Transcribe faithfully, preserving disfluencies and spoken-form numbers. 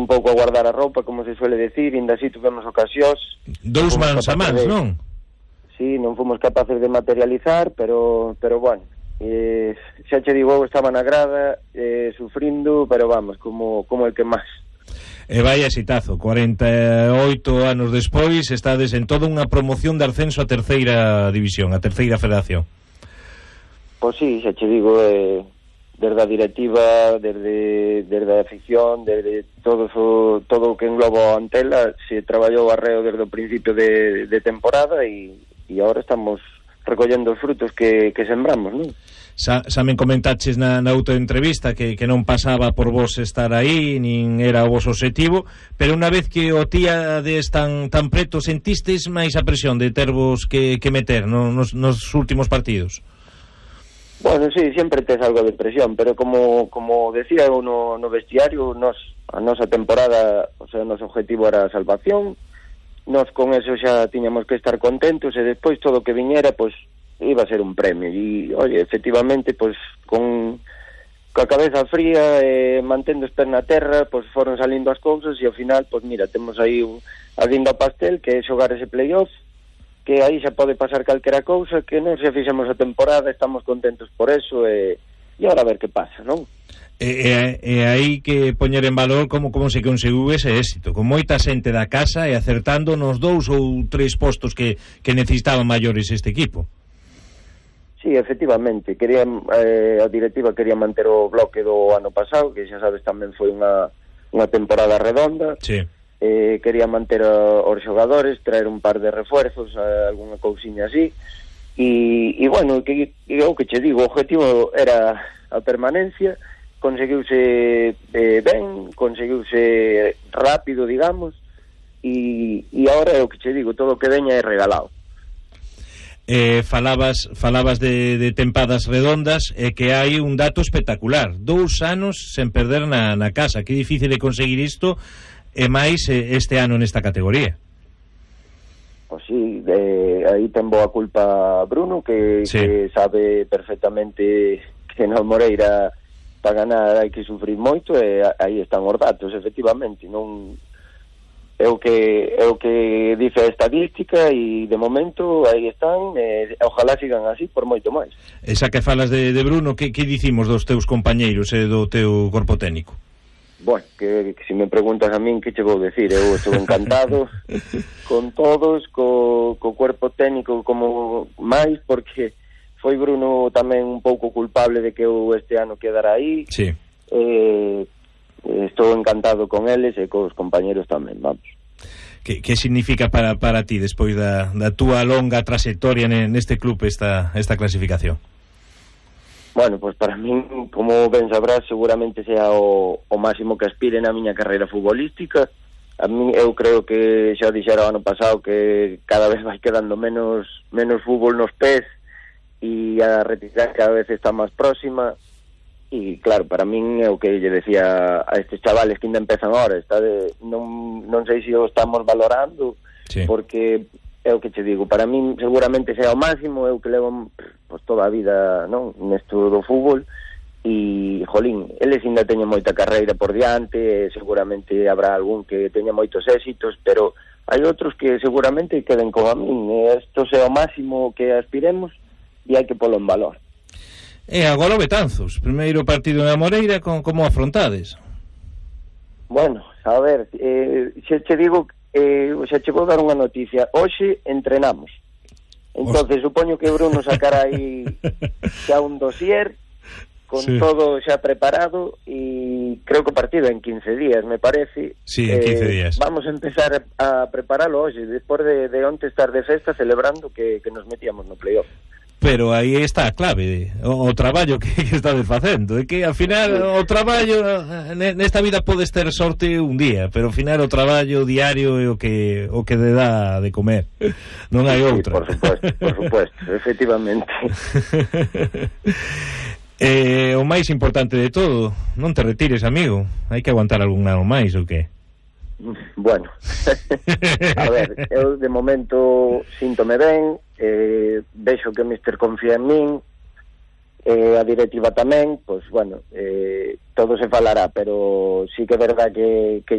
un pouco a guardar a roupa, como se suele decir, ainda así tivemos ocasións. Dous mans a mans, de... non? Sí, non fomos capaces de materializar, pero pero bueno, eh, xa che digo, estaba na grada, eh, sufrindo, pero vamos, como, como el que máis. E vai exitazo, cuarenta e oito anos despois estades en toda unha promoción de ascenso a terceira división, a terceira federación. Pois sí, xa che digo, eh, desde a directiva, desde, desde a afición, desde todo o, todo o que engloba a Antela, se traballou arreo desde o principio de, de temporada e, e agora estamos recollendo os frutos que, que sembramos, non? Xa, xa me comentaches na, na autoentrevista que, que non pasaba por vos estar aí, nin era o vos objetivo, pero unha vez que o tíades tan, tan preto, sentistes máis a presión de tervos que, que meter no, nos, nos últimos partidos? Bueno, sí, sempre tes algo de presión, pero como, como decía eu no, no vestiario, nos, a nosa temporada, o sea, o noso objetivo era a salvación, nos con eso xa tiñamos que estar contentos e despois todo o que viñera, pois, iba a ser un premio e, oye, efectivamente, pois con coa cabeza fría e eh, mantendo os pés na terra, pois foron salindo as cousas e ao final, pois mira, temos aí a guinda ao pastel, que é xogar ese playoff, que aí xa pode pasar calquera cousa, que non se fixemos a temporada, estamos contentos por eso e, e agora a ver que pasa, non? E, e, e aí que poñer en valor como, como se conseguiu ese éxito, con moita xente da casa e acertando nos dous ou tres postos que, que necesitaban maiores este equipo. Sí, efectivamente, quería, eh, a directiva quería manter o bloque do ano pasado, que xa sabes tamén foi unha, unha temporada redonda. Sí. Eh, quería manter a, os xogadores, traer un par de refuerzos, a, alguna cousiña así, e, e bueno, que, que, o que che digo, o objetivo era a permanencia, conseguiuse eh, ben, conseguiuse rápido, digamos, e, e agora é o que che digo, todo o que veña é regalado. Eh, falabas falabas de, de tempadas redondas e eh, que hai un dato espectacular, dous anos sen perder na, na casa, que difícil de conseguir isto e máis eh, este ano nesta categoría. Pois sí, eh, aí ten boa culpa Bruno, que, sí. que sabe perfectamente que no Moreira para ganar hai que sufrir moito e aí están os datos, efectivamente, non é o que é o que dice a estadística e de momento aí están e ojalá sigan así por moito máis. Esa que falas de, de Bruno, que, que dicimos dos teus compañeiros e do teu corpo técnico? Bueno, que, que se me preguntas a min que che vou decir, eu estou encantado con todos, co, co cuerpo técnico como máis, porque foi Bruno tamén un pouco culpable de que eu este ano quedara aí. Sí. Eh, estou encantado con eles e cos compañeros tamén, vamos. Que, que significa para, para ti despois da, da túa longa trayectoria neste club esta, esta clasificación? Bueno, pois pues para min, como ben sabrás, seguramente sea o, o máximo que aspire na miña carreira futbolística. A min, eu creo que xa dixera o ano pasado que cada vez vai quedando menos menos fútbol nos pés e a retirar cada vez está máis próxima. E claro, para min é o que lle decía a estes chavales que ainda empezan ahora, está de, non, non sei se o estamos valorando, sí. Porque é o que te digo, para min seguramente sea o máximo, é o que levo pues, toda a vida, non, nesto do fútbol, e jolín, eles ainda teñen moita carreira por diante, seguramente habrá algún que teña moitos éxitos, pero hai outros que seguramente queden como a min, isto sea o máximo que aspiremos e hai que polo en valor. E agora o Betanzos, primeiro partido na Moreira, con, como afrontades? Bueno, a ver, eh, xa che digo, eh, xa che vou dar unha noticia. Hoxe entrenamos. Entonces, supoño que Bruno sacará aí xa un dossier con sí. todo xa preparado e creo que o partido en quince días, me parece. Sí, en quince días. Eh, vamos a empezar a preparalo hoxe, despois de, de onte estar de festa celebrando que, que nos metíamos no playoff. Pero aí está a clave, o, o traballo que, que estades facendo, é que ao final o traballo nesta vida podes ter sorte un día, pero ao final o traballo diario é o que o que te dá de comer, non hai outra. Sí, por supuesto, por supuesto, efectivamente. eh, o máis importante de todo, non te retires, amigo, hai que aguantar algún ano máis ou que? Bueno, a ver, eu de momento síntome ben, eh, vexo que o míster confía en min, eh, a directiva tamén, pois, bueno, eh, todo se falará, pero sí que é verdad que, que